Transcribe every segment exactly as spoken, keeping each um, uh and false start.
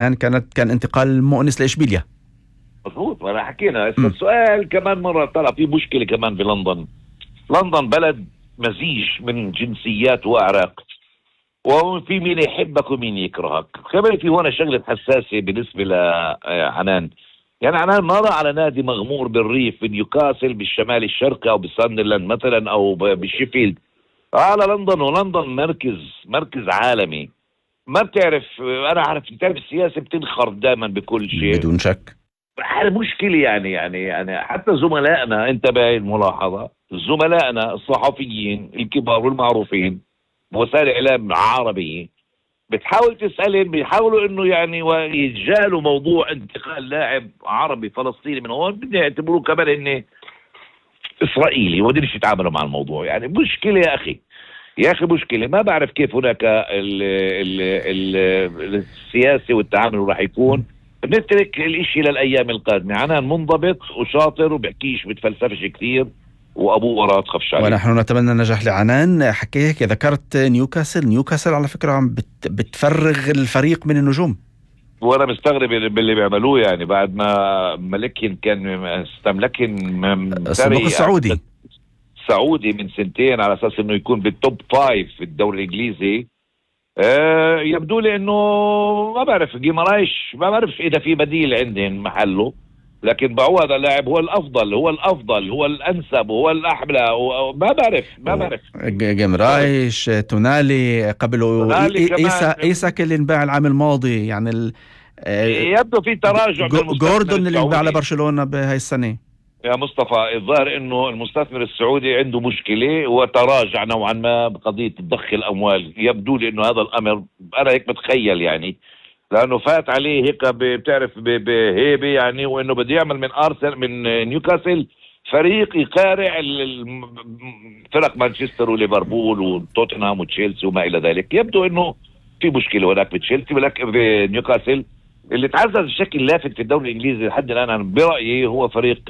يعني كانت كان انتقال مؤنس لإشبيليا. مضبوط، ما أنا حكينا. هسه السؤال كمان مرة، طلع في مشكلة كمان في لندن. لندن بلد مزيج من جنسيات وأعراق، وفي مين يحبك ومين يكرهك. كمان في هون شغلة حساسة بالنسبة لعنان. يعني عنان مرة على نادي مغمور بالريف بنيوكاسل بالشمال الشرقي أو بساندرلاند مثلا أو بشيفيلد، على لندن. ولندن مركز مركز عالمي. ما بتعرف، أنا عارف بتعرف السياسة بتنخرط دائما بكل شيء بدون شك. هذا مشكلة. يعني يعني يعني حتى زملائنا، انت بهاي الملاحظة، زملائنا الصحفيين الكبار والمعروفين بوسائل الاعلام العربية بتحاول تسألهم، بيحاولوا انه يعني يتجاهلوا موضوع انتقال لاعب عربي فلسطيني من هون، بدي يعتبروه كمان انه اسرائيلي وما بديش يتعاملوا مع الموضوع. يعني مشكلة يا اخي، يا اخي مشكلة. ما بعرف كيف هناك ال ال ال السياسي والتعامل راح يكون. بنترك الاشي للايام القادمة. عنان منضبط وشاطر وبحكيش بتفلسفش كثير، وابوه وراه تخافش عليه. ونحن نتمنى النجاح لعنان. حكيك ذكرت نيوكاسل، نيوكاسل على فكرة عم بت بتفرغ الفريق من النجوم، وانا مستغرب باللي بيعملوه. يعني بعد ما ملكين كان استملكن الصندوق السعودي سعودي من سنتين على اساس انه يكون بالتوب فايف في الدوري الانجليزي. أه يبدو لي انه ما بعرف جيمارايش، ما بعرف اذا في بديل عندهم محله، لكن بعو هذا اللاعب هو الافضل، هو الافضل هو الانسب هو الاحلى. ما بعرف ما بعرف جيمرايش، تونالي قبله، ايسا ايسا اللي انباع العام الماضي. يعني ال... يبدو في تراجع. جوردون اللي انباع لبرشلونة بهاي السنة يا مصطفى. الظاهر انه المستثمر السعودي عنده مشكلة وتراجع نوعا ما بقضية ضخ الاموال. يبدو لي انه هذا الامر، انا هيك متخيل يعني، لانه فات عليه هيك بتعرف بهيبه يعني، وانه بده يعمل من ارسنال من نيوكاسل فريق يقارع فرق مانشستر وليفربول وتوتنهام وتشيلسي وما الى ذلك. يبدو انه في مشكلة هناك بتشيلسي، ولكن بنيوكاسل اللي تعزز بشكل لافت في الدوري الانجليزي لحد الان برأيي هو فريق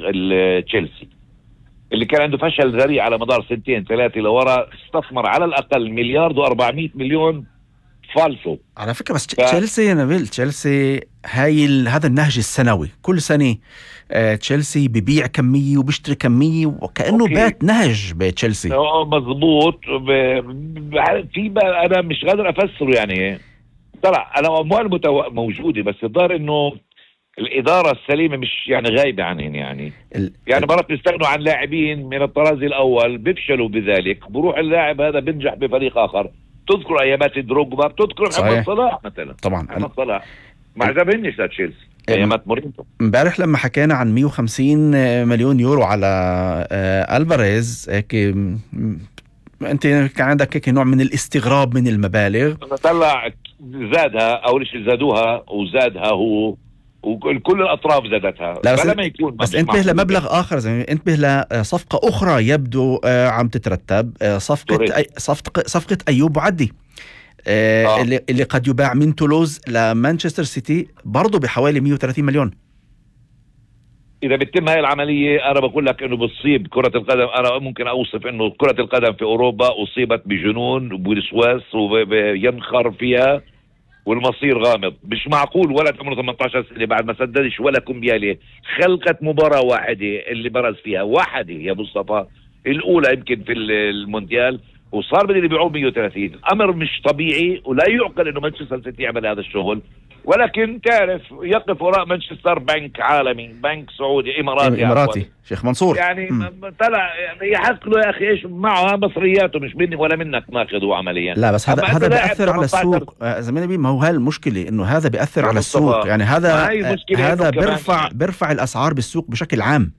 تشيلسي، اللي كان عنده فشل ذريع على مدار سنتين ثلاثة لورا. استثمر على الاقل مليار واربعمائة مليون فالسو على فكرة. بس ف... تشيلسي يا نبيل، تشيلسي هاي ال... هذا النهج السنوي كل سنة. آه تشيلسي ببيع كمية وبيشتري كمية، وكأنه أوكي. بات نهج بتشيلسي. مضبوط. ب... ب... في ب... انا مش قادر افسره يعني. طلع انا اموال متو... موجودة، بس الظاهر انه الادارة السليمة مش يعني غايبة عنهم. يعني ال... يعني مرات بيستغنوا عن لاعبين من الطراز الاول بيفشلوا بذلك، بروح اللاعب هذا بينجح بفريق اخر. تذكر ايامات دروجبا، بتذكر محمد صلاح مثلا. طبعا محمد صلاح ما عجبنيش لتشيلسي ايامات مورينيو. امبارح لما حكينا عن مية وخمسين مليون يورو على الفاريز، هيك انت كان عندك هيك نوع من الاستغراب من المبالغ. طلع زادها، اول شيء زادوها وزادها هو، وكل الاطراف زادتها. لا بس, ما يكون بس انتبه لمبلغ اخر، زي انتبه لصفقه اخرى يبدو عم تترتب، صفقه أي صفقه صفقه ايوب بعدي، آه. اللي اللي قد يباع من تولوز لمانشستر سيتي برضه بحوالي مية وثلاثين مليون. اذا بتتم هاي العمليه انا بقول لك انه بتصيب كره القدم. انا ممكن اوصف انه كره القدم في اوروبا اصيبت بجنون وبوسواس وينخر فيها، والمصير غامض. مش معقول ولد عمره ثمانية عشر سنة بعد ما سددش ولا كمبيالة خلقت مباراة واحدة اللي برز فيها واحدة يا مصطفى، الأولى يمكن في المونديال، وصار بدي يبيعوه مية وثلاثين. أمر مش طبيعي، ولا يعقل إنه مانشستر سيتي يعمل هذا الشغل. ولكن تعرف يقف وراء مانشستر بنك عالمي، بنك سعودي إماراتي إماراتي شيخ منصور. يعني طلع يعني يحصلوا يا أخي إيش معه مصرياته، مش مني ولا منك ماخذه عمليا. لا بس هذا هذا بيأثر على السوق زميلي بي. ما هو هاي المشكلة، إنه هذا بيأثر على السوق. يعني هذا هذا بيرفع بيرفع الأسعار بالسوق بشكل عام،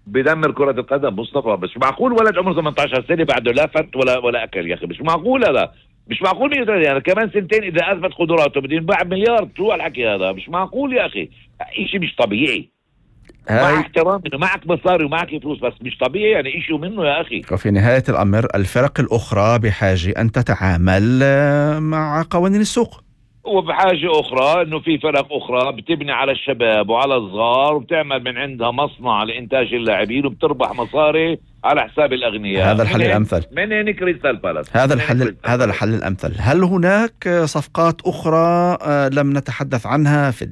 بدمر كرة القدم مصطفى. مش معقول ولد عمره ثمانية عشر سنة بعده لا فت ولا ولا أكل يا أخي. مش معقول هذا، مش معقول. يعني كمان سنتين إذا أثبت قدراته بدي ينباع بمليار. شو الحكي هذا؟ مش معقول يا أخي، إشي مش طبيعي. مع احترام إنه معك مصاري ومعك فلوس، بس مش طبيعي يعني إشي منه يا أخي. وفي نهاية الأمر الفرق الأخرى بحاجة أن تتعامل مع قوانين السوق. وبحاجة أخرى إنه في فرق أخرى بتبني على الشباب وعلى الصغار وبتعمل من عندها مصنع لإنتاج اللاعبين وبتربح مصاري على حساب الأغنياء. هذا الحل الأمثل. من هنا كريستال بالاس. هذا الحل هذا الحل الأمثل. هل هناك صفقات أخرى لم نتحدث عنها في